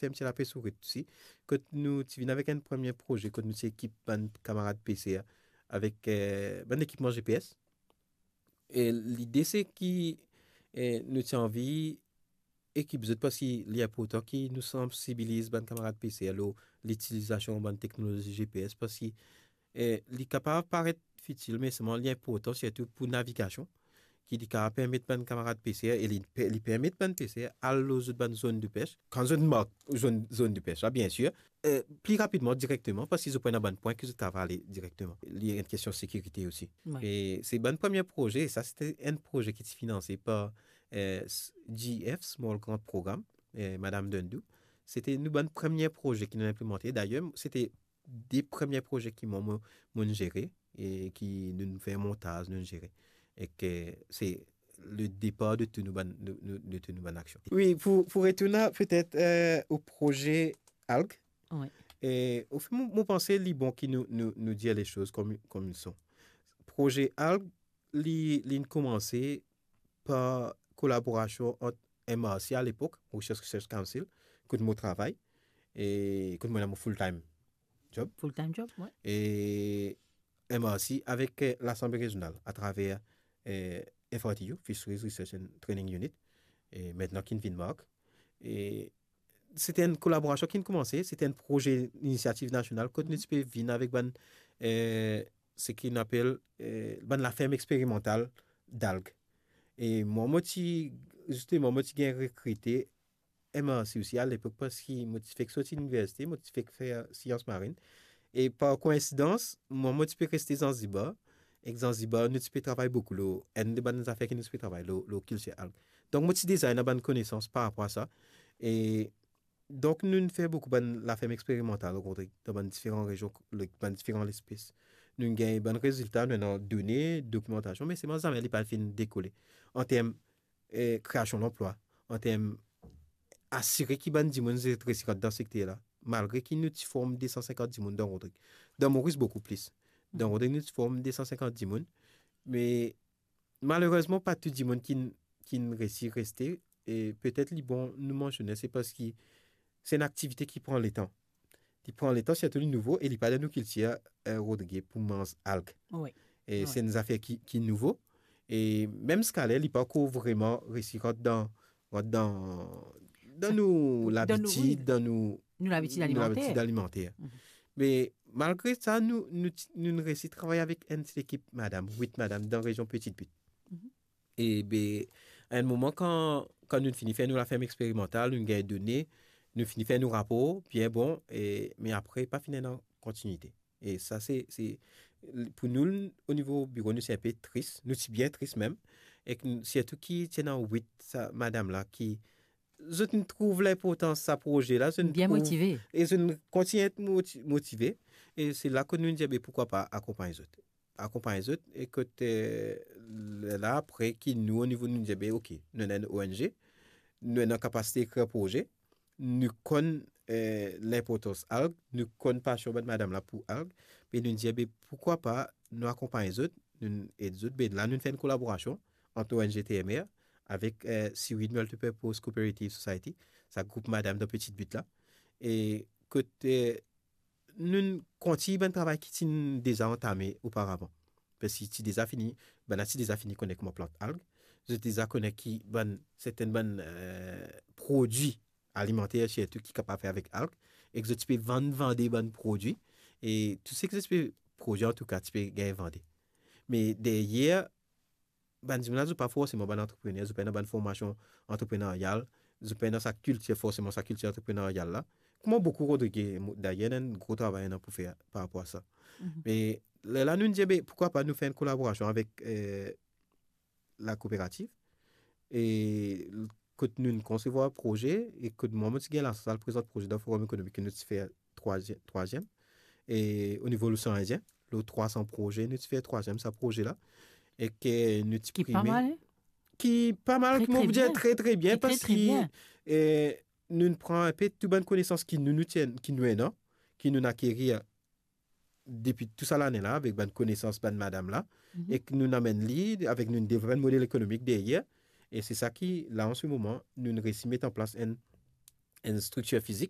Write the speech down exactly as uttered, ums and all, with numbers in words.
ferm ti lapes Ourit osi, kot nou ti vinn avek enn premie proze, kot nou ti ekip bann kamarad peser avek, eh, bann ekipman G P S. E lide se ki, eh, nou ti anvi ekip zot, parski li inportan ki nou sansibiliz bann kamarad peser lor litilizasion bann teknolozi G P S, parski, eh, li kapav paret fitil, me selman li inportan sirtou pou navigasion, ki li kapav permet bann kamarad peser e li pe-, li permet bann peser al lor zot bann zone de pêche. Kan zot mark zone, zone de pêche la, biensir, eh, pli rapidman, direkteman, parski zot pou ena bann pwin ki zot kapav ale direkteman. Li enn kestion sekirite osi. Wi. E se bann premie proze, sa se te enn proze ki ti finanse par, eh, s-, G F, Small Grant Program, eh, Madam Dundu. Se te nou bann premie proze ki nou inplimante. Dayer, se te de premie proze ki mwa, mo, mo'nn zere e ki nou fer montaz, nou zere. E ki se le depar de tou nou bann, de, de, de tou nou bann aksion. Wi, pou, pou retourn petet, eh, o proze alg. Wi. E, anfin, mo, mo panse li bon ki nou, nou, nou dir lesoz kom, kom li son. Proze alg, li, li'nn koumanse par kolaborasion ant M R C alepok, Mauritius Research Council, kot mo travay, e kot mo ena mo full time job. Full time job, wi. E M R C avek, eh, Lasanble Rezional atraver, eh, F R T U, Fisheries Research and Training Unit, e mintnan ki'nn vinn MARC. E se te enn kolaborasion ki'nn koumanse, se te enn proze inisiativ nasional, kot nou ti pe vinn avek bann, eh, seki nou apel, eh, bann laferm eksperimantal dalg. E mwa, mo ti, zisteman, mo ti gagn rekrite M R C osi alepok, parski mo ti fek sorti liniversite, mo ti fek fer sians marin. E par koinsidans, mwa, mo ti pe reste Zanzibar. Ek Zanzibar, nou ti pe travay boukou lor, enn de bann zafer ki nou ti pe travay lor, lor kiltir alg. Donk, mo ti deza ena bann konesans par rapor a sa. E donk, nou'nn fer boukou bann laferm eksperimantal, o Rodrig, dan bann diferan rezion, le-, bann diferan lespes. Nou'nn gagn bann rezilta, nou ena done, dokimantasion, me selman zame li pa finn dekole. An term, eh, kreasion lanplwa, an term asire ki bann dimoun zot resi rant dan sekter la, malgre ki nou ti form de san sinkant dimoun dan Rodrig. Dan Moris, boukou plis. Dan Rodrig, nou ti form de san sinkant dimoun, me malerezman, pa tou dimoun ki'nn, ki'nn resi reste, e petet li bon nou mansione, se parski se enn aktivite ki pran letan. Li pran letan, sirtou li nouvo, e li pa dan nou kiltir, eh, Rodrig, pou manz alg. Wi. E se enn zafer ki, ki nouvo. E mem ziskaler, li pa ankor vreman resi rant dan, rant dan, dan nou labitid, wi, dan nou, nou labitid alimanter. Me malgre sa, nou, nou ti, nou'nn resi travay avek enn ti lekip madam, wit madam, dan rezion Petite Butte. E be, a enn moman, kan, kan nou fini fer nou laferm eksperimantal, nou gagn done, nou fini fer nou rapor, bien bon, e, me apre, pa finn ena kontinite. E sa, se, se, pou nou, o nivo biro, nou ti inpe tris, nou ti bien tris mem, ek n-, sirtou ki ti ena wit sa madam la ki, zot inn trouv linportans sa proze la, zot inn bien trouv motive. E zot inn kontign et moti-, motive. E se la kot nou dir, be, poukwa pa akonpagn zot. Akonpagn zot, e kot, eh, la apre ki nou, o nivo nou dir, be, ok, nou ena enn O N G, nou ena kapasite ekrir proze, nou konn, eh, linportans alg, nou konn pasion bann madam la pou alg, be nou dir, be, poukwa pa nou akonpagn zot, nou ed zot, be la nou fer enn kolaborasion ant O N G T M R avek, eh, Seaweed Multipurpose Cooperative Society, sa group madam dan Petite Butte la. E kot, eh, nou kontign bann travay ki ti deza antame oparavan. Parski ti deza fini, bann la ti deza fini kone kouma plant alg. Zot deza kone ki bann, sertenn bann, eh, prodwi alimanter sirtou ki kapav fer avek alg. Ek zot ti pe vann, vande bann prodwi. E tou seki zot ti pe prodwi, antouka, ti pe gagn vande. Me deryer, bann dimoun la, zot pa forseman bann antreprener, zot pa ena bann formasion antrepreneryal, zot pa ena sa kiltir, forseman sa kiltir antrepreneryal la. Kouma boukou Rodrig, mo-, dayer, ena enn gro travay ena pou fer par rapor a sa. Me lerla, nou dir, be, poukwa pa nou fer enn kolaborasion avek, eh, lakooperativ, e l-, kot nou konsevwar proze, e kot mwa, mo ti gagn lasans al prezant proze dan Forum Ekonomik ki nou ti fer trwaziem, trwaziem. E o nivo losean Indien, lor trwa san proze, nou ti fer trwaziem sa proze la. E ki nou ti prime. Ki pa mal, hein? Ki pa mal, tre, ki mo tre pou dir bien. Tre, tre bien, parski, eh, nou pran inpe tou bann konesans ki nou, nou ti enn, ki nou ena, ki nou akerir depi tou sa lane la, avek bann konesans bann madam la, ek nou amenn li, avek nou devlop enn model ekonomik deryer, e se sa ki, la, an se moman, nou resi met an plas enn enn striktir fizik,